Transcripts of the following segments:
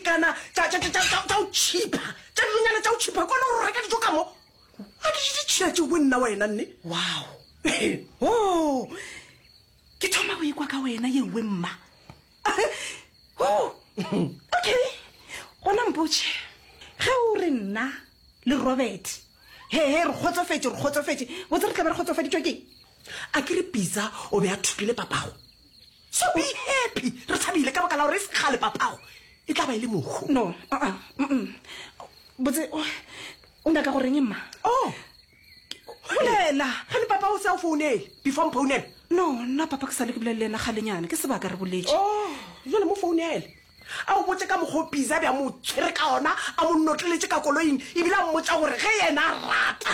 kana tša tša tša tša tša o cheaper tša dilonyana tša o cheaper kone gore o reka dijo ka mo a ke di tšhila tšeo bo nna wena nne wow oh ke thoma go ikwa ka wena ye nngwe mma oh okay gona mpotše ge o re nna le robert he he re kgotsofetše re kgotsofetše botse re tla be re kgotsofaditšwe keng a ke re pizza o be a thopile papago so be happy re thabile ka baka la gore e se kgale papago e tla ba e le mohu no uh-uh, mm-mm. botse o o nyaka go reng mma oh bolela gane papa o se a o founele before mphounele no nna papa ke sale ke bolele le yena kgalenyana ke sebaka re boletše oh jale mo founele a o botse ka mokgwa o pizza bja mo tshwere ka ona a mo notleletše ka koloing ebile a mmotsa gore ge yena a rata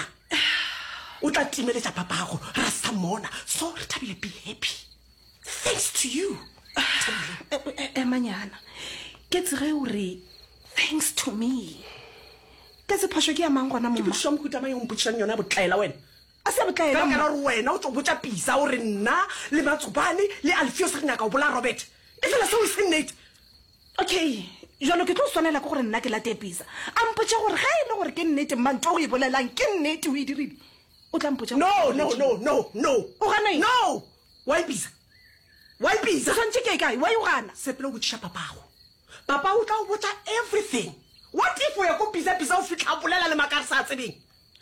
o tla timeletša papago ra sa mona so re thabile be happy thanks to you emanyana ke tsege o re thanks to me ke se phošo ke ya mang gona ke momma potšišo ya mohuta mang e o mpotšišang yona ya botlaela wena a se ya ka botlaela baka la mma gore wena o tlo botša pisa o re nna le matsobane le alfios re nyaka go bolaya robert e fela seo e se nnete okay jalo ke tlo swanela ke gore nna ke late pisa a mpotše gore ge e le gore ke nnete mma nto o e bolelang ke nnete o e dirile o tla mpotša no no no no no O gana eng? no why pisa why pisa o swantše ke kae why o gana sepela o botšiša papago papa o tla o botša everything what if o ya ko pisa pisa o fitlha a bolela le maaka a re sa tsebeng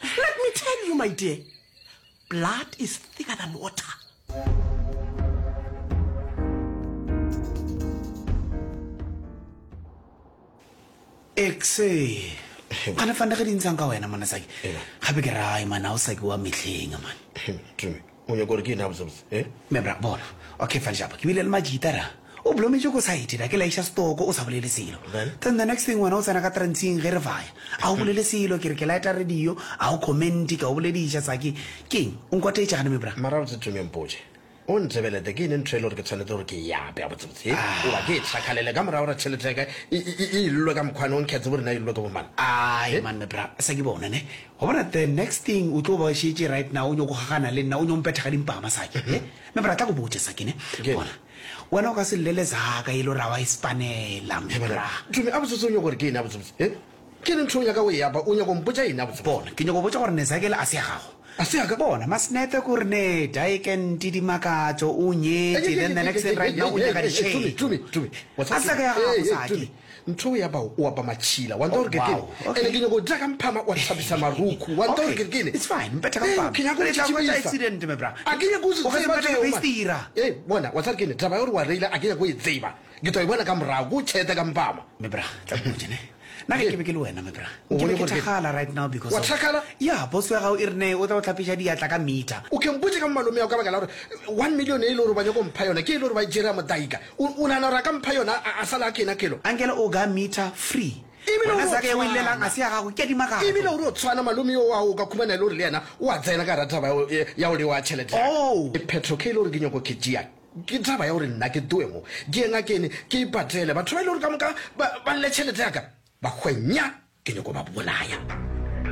let me tell you my dear blood is thicker than water Exe. Gane fane ge di ntshang ka wena mona sake. Gape ke rae man ha o sake wa mehleng man. Tumi, o nyaka gore ke eng gabotsebotse? Eh? Me bra bona. Okay fane japa. Ke bile le majita ra. O blometše ko side ra ke laiša stoko o sa bolele selo. Then? Then the next thing wena o tsena ka trantsing ge re vaya. A o bolele selo ke re ke lighta radio a o comment ke a o bolediša sake. Keng? O nkwatetše gane me bra. Mara gabotse Tumi mpotše. O ntebelete, ke eng ntho e le gore ke tshwanetse gore ke e ape gabotsebotse? Goba ke e tšhakgalele ka morago gore tšhelete ya ka e, e, e, e illwe ka mokgwane o nkhe tsebe gore na e illwe ke bomang? Ai man me bra, sa ke bona ne. Wa bona the next thing o tlo ba šetše right now o nyoko gagana le nna o nyo mpetha ka dimpama sake. He? Me bra tla go botše sake ne. Ke. Bona. Wena o ka se llele zaka e le gore a wa e spanela me bra. Tumi, a botsotse o nyoko gore ke eng gabotsebotse? He? Ke eng ntho o nyaka go e apa? O nyaka go mpotša eng gabotsebotse? Bona, ke nyako botša gore Nezakele a se ya gago. A se ya ka? Bona, Masnepe ko re ne Daekente Dimakatšo o nyetše, then the next thing right now o nyaka Tumi, ditšhelo. Tumi, Tumi. Wa tseba A se ya ka ya ke- gago, Hey, hey, Saki. Tumi, ntho o e apago, o apa matšhila. Wa ntseba Oh, gore ke kene? wow, okay. Ene ke nyaka go dira ka mphama wa hlapisa marukhu. Wa ntseba gore Okay, ke kene? it's fine, mpetha ka Hey, mphama. ke nyaka go Re tla hwetša tšitšibisa. accident, my bra. A ke nyake go se O ka se tseba mpethe ka tšeo, man. feistira. Hey, bona, wa tseba gore ke ene? Taba ya gore wa reila, a ke nyake go e tseba. Ke tlo e bona ka morago, ke o tšhete ka mpama. Me bra, tla ke botše ne. Nna ge ke be ke le wena, me bra, O nke be bone ke gore ke- thakgala right now because Wa of- thakgala? Ya, boss ya gago e re ne o tla o hlapiša diatla ka meter. O ke mpotše ka malome ao ka baka la gore one million e le gore ba nyako mpha yona ke e le gore ba e tšere ya modaika. O o nagana gore a ka mpha yona a a sala a kena kelo? Ankele o ga meter free. Ebile Wena o zaka ye o e llelang tshwana. a se ya gago, ke ya dimakatšo. Ebile o re o tshwana malome yo wa o ka khumana e le gore le yena o a tsena ka gara taba ya go- ya go lewa tšhelete ya ka. Oh. Phetho ke e le gore ke nyako ke tšea Ke taba ya gore nna ke tloe mo ke ye ngakeng ke ipatele. Batho ba e le gore ka moka ba, ba lle tšhelete ya ka, ba hwe nya, ke nyako ba bolaya.